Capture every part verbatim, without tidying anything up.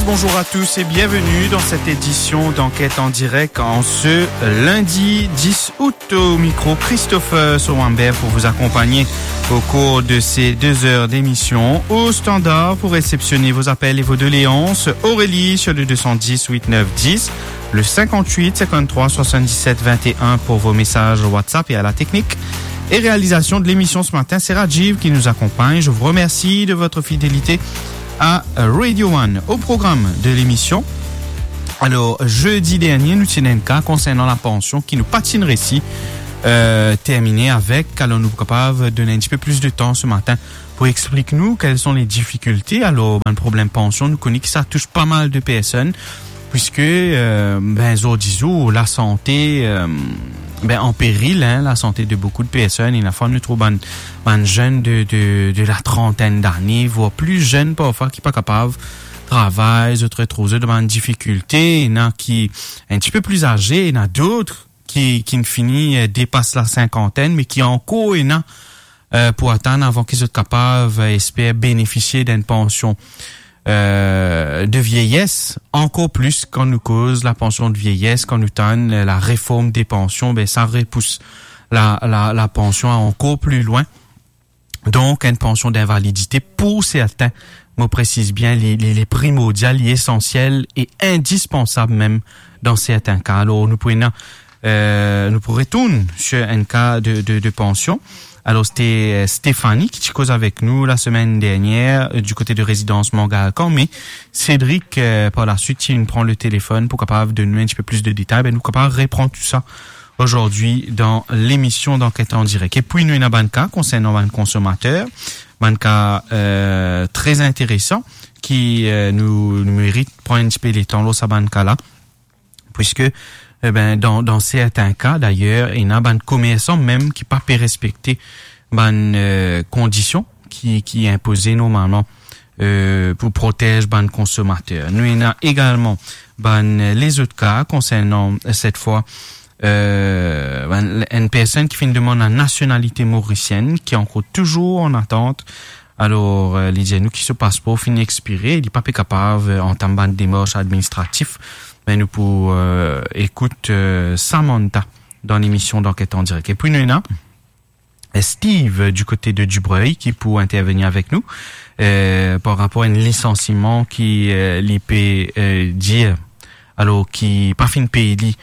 Bonjour à tous et bienvenue dans cette édition d'Enquête en direct en ce lundi dix août. Au micro, Christopher Sowamber pour vous accompagner au cours de ces deux heures d'émission. Au standard pour réceptionner vos appels et vos doléances, Aurélie sur le deux cent dix huit neuf dix, le cinquante-huit cinquante-trois soixante-dix-sept vingt et un pour vos messages WhatsApp et à la technique et réalisation de l'émission ce matin, c'est Rajiv qui nous accompagne. Je vous remercie de votre fidélité à Radio One. Au programme de l'émission, alors, jeudi dernier, nou ti ena enn ka konsernan lapansion ki nou pa ti reisi, euh, termine avek. Alor, nou kapav donn enn tipe plis de tan se matin pou explik nou kel son le difikilte. Alor, bann problem pansion, nou kone ki sa tous pa mal de personn, puiske, euh, ben, zordi zour, lasante, euh, ben, an peril, hein, lasante de boukou de personn. Ena fwa nou trouv bann, bann zenn de, de, de la trantenn dane, voir plis zenn parfwa ki pa kapav travay, zot retrouv zot dan bann difikilte. Ena ki enn tipe plis aze, ena dot ki, ki fini, euh, depas la sinkantenn, me ki ankor ena, euh, pou atann avan ki zot kapav, euh, esper benefisie d'enn pansion, euh, de vieyes, ankor plis kan nou koz lapansion de vieyes, kan nou tann, euh, lareform de pansion, ben, sa repous la, la, lapansion ankor pli lwin. Donk, enn pansion d'invalidité, pou serten, mo presiz bien, li, li, li primordial, li esansiel e indispansab mem dan serten ka. Alor, nou pou ena, euh, nou pou retourn sur enn ka de, de, de pansion. Alor, sete, euh, Stéphanie ki ti koz avek nou lasemenn dernier, euh, du kote de rezidans Mangalkan, me Cédric, euh, par la suite, ti pran le telefon pou kapav donn nou enn tipe plis de detay. Ben, nou kapav repran tou sa aujourd'hui dans l'émission d'Enquête en direct. Epi nou ena bann ka konsernan bann konsomater, bann ka, euh, tre interesan ki, euh, nou, nou merit pran enn tipe letan lor sa bann ka la, puiske, eh ben, dan, dan serten ka, dayer, ena bann komersan mem ki pa pe respekte bann, euh, kondision ki, ki inpoze normalman, euh, pou protez bann konsomater. Nou ena egalman bann, euh, lezot ka konsernan, euh, set fwa, euh, bann, enn personn ki finn demann la nasionalite morisienn, ki ankor touzour an atant. Alor, euh, li dir nou ki so paspor finn expire, li pa pe kapav, euh, antam bann demars administratif. Me nou pou, euh, ekout, euh, Samantha dan lemision d'Enquête en direct. Epi nou ena Steve, euh, du kote de Dubreuil, ki pou intervenir avek nou, euh, par rapor a enn lisansiman ki, euh, li pe, euh, dir, alor ki pa finn pey li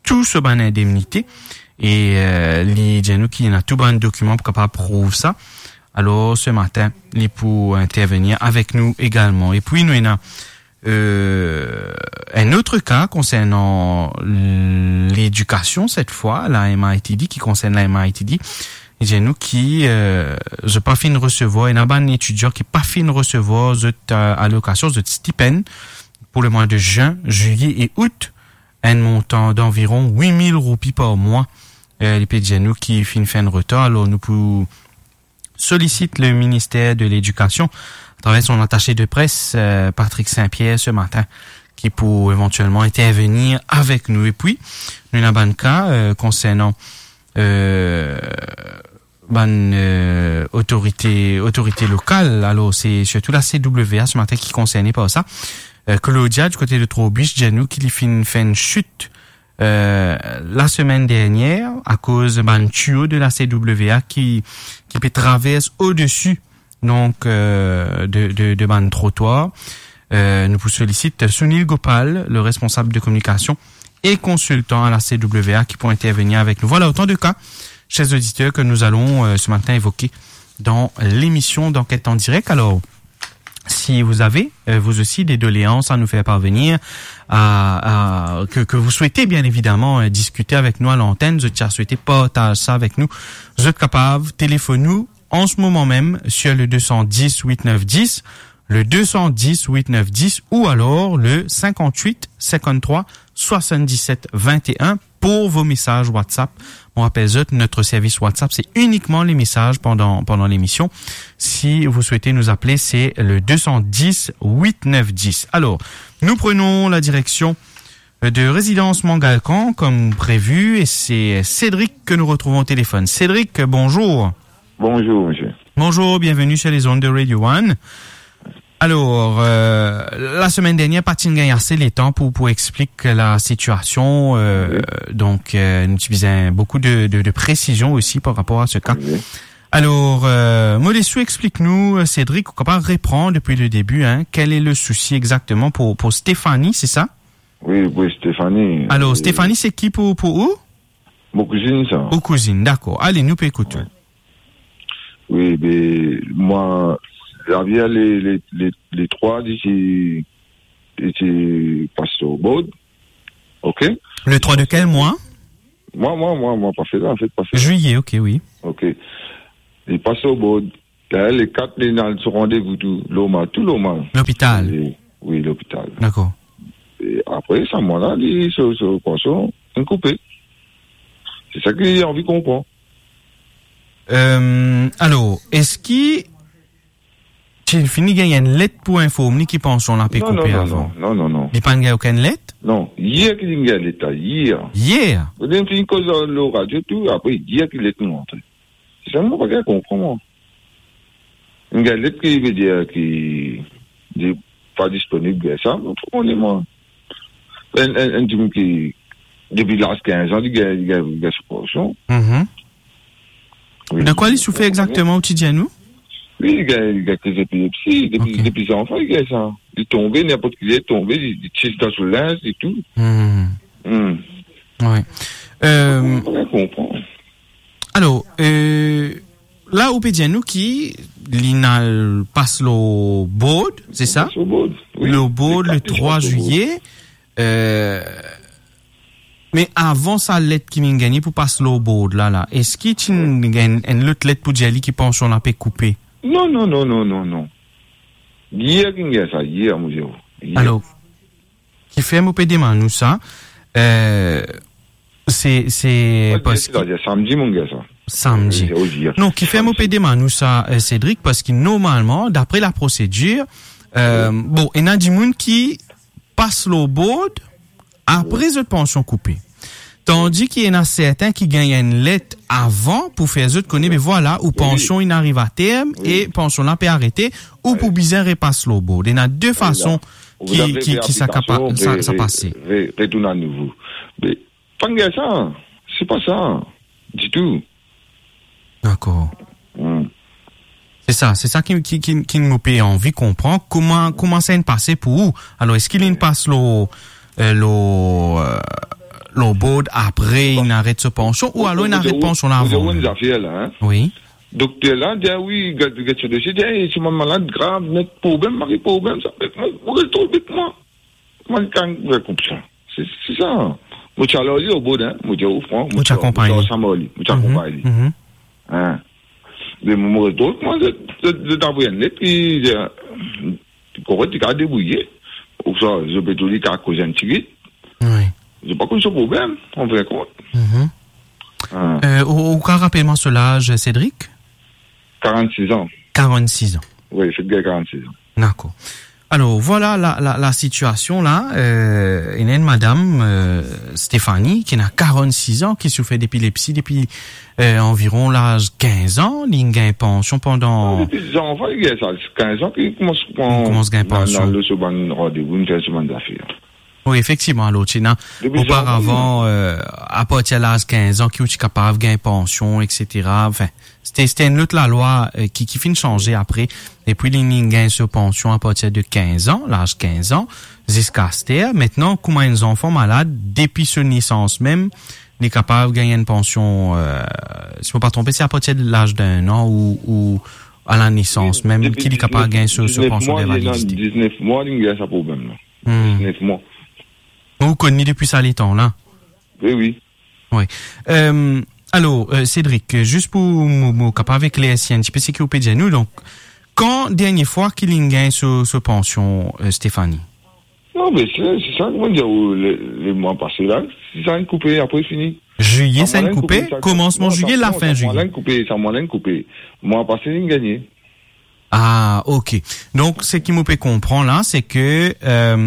tou so bann indemnite, e, euh, li dir nou ki ena tou bann dokiman pou kapav prouv sa. Alor, se matin, li pou intervenir avek nou egalman. Epi nou ena euh, enn lot ka konsernan ledikasion, set fwa, la M I T D, ki konsern la M I T D. Li dir nou ki, euh, zot pa finn resevwar, ena bann etidian ki pa finn resevwar zot, euh, alokasion, zot stipenn pou lemwa de zin, zilie e out, enn montan danviron wit mil roupi par mwa. Euh, li pe dir nou ki finn fer enn retar, alor nou pou solisit le minister de Ledikasion atraver son atase de pres, euh, Patrick Saint-Pierre, se matin, ki pou evantielman intervenir avek nou. Epi, nou ena bann ka, euh, konsernan, euh, bann, euh, otorite, otorite lokal. Alor, se sirtou la C W A se matin ki konserne par sa. Euh, Claudia, du kote de Trois-Biches, dir nou ki li finn fer enn sit euh, lasemenn dernier, akoz bann tiyo de la C W A ki, ki pe travers odesi, donk, euh, de, de, de bann trotwar. Euh, nou pou solisit Sunil Gopal, le responsab de kominikasion e konsiltan a la C W A, ki pou intervenir avek nou. Vwala otan de ka, chers auditeurs, que nous allons, euh, ce matin évoquer dans l'émission d'Enquête en direct. Alors, si vous avez, euh, vous aussi, des doléances à nous faire parvenir, à, à, que, que vous souhaitez bien évidemment, euh, discuter avec nous à l'antenne, zot ti a swete partaz sa avek nou, zot kapav telefone nou an se moman mem sur le deux cent dix huit neuf dix, le deux cent dix huit neuf dix, ou alors le cinquante-huit cinquante-trois soixante-dix-sept vingt et un pour vos messages WhatsApp. Mo rapel zot, notre service WhatsApp, c'est uniquement les messages pendant, pendant l'émission. Si vous souhaitez nous appeler, c'est le deux cent dix huit neuf dix. Alors, nous prenons la direction de résidence Mangalkan, comme prévu, et c'est Cédric que nous retrouvons au téléphone. Cédric, bonjour. Bonjour, monsieur. Bonjour, bienvenue sur les ondes de Radio One. Alor, euh, lasemenn dernier, pa ti gagn ase letan pou, pou explik la sitiasion, euh, donk, euh, nou ti bizin boukou de, de, de presizion osi par rapor a se ka. Alor, euh, mo les ou explik nou, euh, Cédric, ou kapav repran depi le debi, hein, quel est le souci exactement pour, pour Stéphanie, c'est ça ? Wi, wi, Stéphanie. Alor, Stéphanie, se ki pou, pou ou ? Mo kouzinn, sa. Ou kouzinn, dakor. Ale, nou pe ekout ou. Wi, be, mwa, Javier, le, le, le, le trwa, li ti, li ti pas lor bord. Ok ? Le trwa de kel mwa ? Mwa, mwa, mwa, mwa pase la, an fet, pase la. Juillet, ok, wi. Ok. Li pas lor bord. Ler le kat, li al so randevou tou normal, tou normal. Lopital ? E, wi, lopital. Dakor. E apre sa, mwa la, li, so, so pansion, inn koupe. Se sa ki li anvi konpran. Euh, alor, eski ti fini gagn enn let pou inform li ki pansion la pe koupe avan ? Non, non, non, non, non, non. Li pa'nn gagn okenn let ? Non, yer ki linn gagn let la, yer. Yer ? Ler nou fini koz lor radio tou, apre yer ki let nou antre. Se sa mo pa gagn konpran, mwa. Inn gagn let ki vedir ki li pa disponib, bien sa, mo pa kone, mwa. Enn, enn, enn dimoun ki, depi laz kinz an, li gagn, li gagn, li gagn so pansion. Mhm. Wi. De kwa li soufer exakteman, ou ti dir nou ? Wi, li gagn, li gagn kriz epilepsi, depi, ok, depi zanfan, li gagn sa. Li tonbe, ninport ki ler, li tonbe, li, li tir dan so linz e tou. Hmm. Hmm. Wi. Euh, mo pa gagn konpran. Alor, euh, la ou pe dir nou ki li inn al pas lor bord, se sa ? Pas lor bord, wi. Lor bord le trwa ziye, euh, me avan sa let ki linn gagne pou pas lor bord la, la, eski ti gagn enn lot let pou dir li ki pansion la pe koupe ? Non, non, non, non, non, non. Yer ki gagn sa, yer, mo dir ou. Yer. Alor, kifer mo pe demann ou sa, euh, se, se... Wi, parski, setadir samdi mo gagn sa. Samdi. Wi, ozir. Non, kifer mo pe demann ou sa, euh, Cédric, parski normalman, dapre la prosedir, euh, wi, bon, ena dimoun ki pas lor bord, apre, wi, zot pansion koupe. Tandi ki ena serten ki gagn enn let avan pou fer zot kone, wi, be vwala, ou, wi, pansion inn ariv a term, wi, e pansion la pe arete, ou, wi, pou bizin repas lor bord. Ena de, wi, la, fason ki, ki, ki sa kapav, sa, sa pase. Re-, retourn anouvo. Me pa gagn sa, se pa sa ditou. Dakor. Hmm. Se sa, se sa ki, ki, ki, ki mo pe anvi konpran. Kouma, kouma sa inn pase pou ou ? Alor, eski linn pas lor, euh, lor, euh, lor bord apre inn aret so pansion, ou alor inn aret pansion la avan? Ou dir enn zafer la, hein? Wi. Dokter la dir, wi, get, get so dosie, dir, "Eh, se bann malad grav, nek problem, mari problem, sa." Mo, mo res trouv, mo, mo, kan, koumsa. Se, se sa. Mo ti al ar li lor bord, hein. Mo dir, o, fran, mo ti akonpagn li. Mo ti ansam ar li, mo ti akonpagn li. Mhm. Hein. Me mo, mo res trouv, mo, zot, zot, zot avoy enn let, li, li, li, konpran, li kapav debrouye. Ou sa, zot pe trouv li kapav koz enn tigit. Wi. Zot pa konn so problem, an fin de kont. Mhm. Hein. Euh, ou, ou kapav rapel mwa so laz, Cédric? Karannsis an. Karannsis an. Wi, fek gagn karannsis an. Dakor. Alor, vwala la, la, la sitiasion la, euh, ena enn madam, euh, Stéphanie, ki ena karannsis an, ki soufer depilepsi depi, euh, anviron laz kinz an, li gagn pansion pandan... Non, depi zanfan, li gagn sa, kinz an ki koumans pran, koumans gagn pansion. Al so bann randevou, fer so bann zafer. Wi, efektivman, alor, ti ena, depi zanfan, oparavan, euh, apartir laz kinz an ki ou ti kapav gagn pansion, et cetera. Anfin, se ti, se ti enn lot lalwa, euh, ki, ki finn sanze apre. Epi li, li gagn so pansion apartir de kinz an, laz kinz an, ziska aster. Aster, kouma enn zanfan malad, depi so nesans mem, li kapav gagn enn pansion, euh, si mo pa tronpe, se apartir de laz de enn an ou, ou a la nesans mem ki li kapav gagn so, so pansion d'invalidité. Depi diznef mwa, li ena diznef mwa, li gagn sa problem la. Hmm. Diznef mwa. Ou konn li depi sa letan la? Wi, wi. Wi. Euh, alor, euh, Cédric, euh, zis pou mo, mo kapav eklersi enn tipe seki ou pe dir nou, donk, kan dernie fwa ki li gagn so, so pansion, euh, Stéphanie? Non, me se, se sa ki mo dir, le, le mwa pase la, se sa inn koupe, apre fini. Juillet, sa inn koupe, komansman juillet, lafin juillet. Sa mwa la inn koupe, sa mwa la inn koupe. Mwa pase, li gagne. Ah, ok. Donk, seki mo pe konpran la, se ke, euh,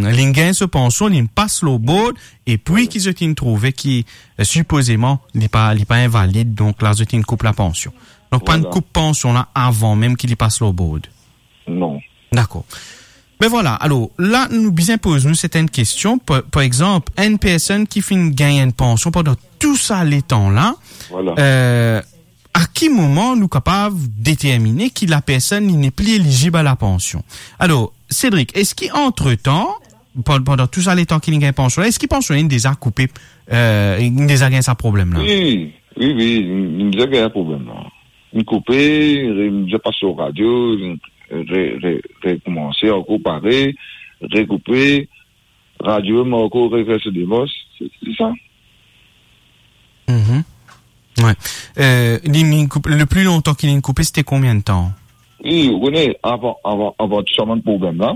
li gagn so pansion, li pas lor bord, epi ki zot inn trouve ki, euh, sipozeman, li pa, li pa invalid, donk la, zot inn koup la pansion. Donk, pa'nn koup pansion la avan mem ki li pas lor bord. Non. Dakor. Me vwala, alor, la, nou bizin poz nou sertenn kestion. Par, par exanp, enn personn ki finn gagn enn pansion pandan tou sa letan la, Vwala. eh, a ki moman nou kapav determine ki la personn li nepli elizib a la pansion? Alor, Cédric, eski antretan, pan-, pandan tou sa letan ki li gagn pansion la, eski pansion li deza koupe, eh, li deza gagn sa problem la? Wi, wi, wi, li, li deza gagn problem la. Li koupe, re-, li deza pas lor radio, re-, re-, rekoumanse ankor parey, rekoupe, radio mem ankor refer so demars, se, se sa. Mhm. Wi. Eh, li, li koup-, le pli lontan ki li koupe, sete konbien de tan? Wi, ou kone, avan, avan, avan tou sa bann problem la,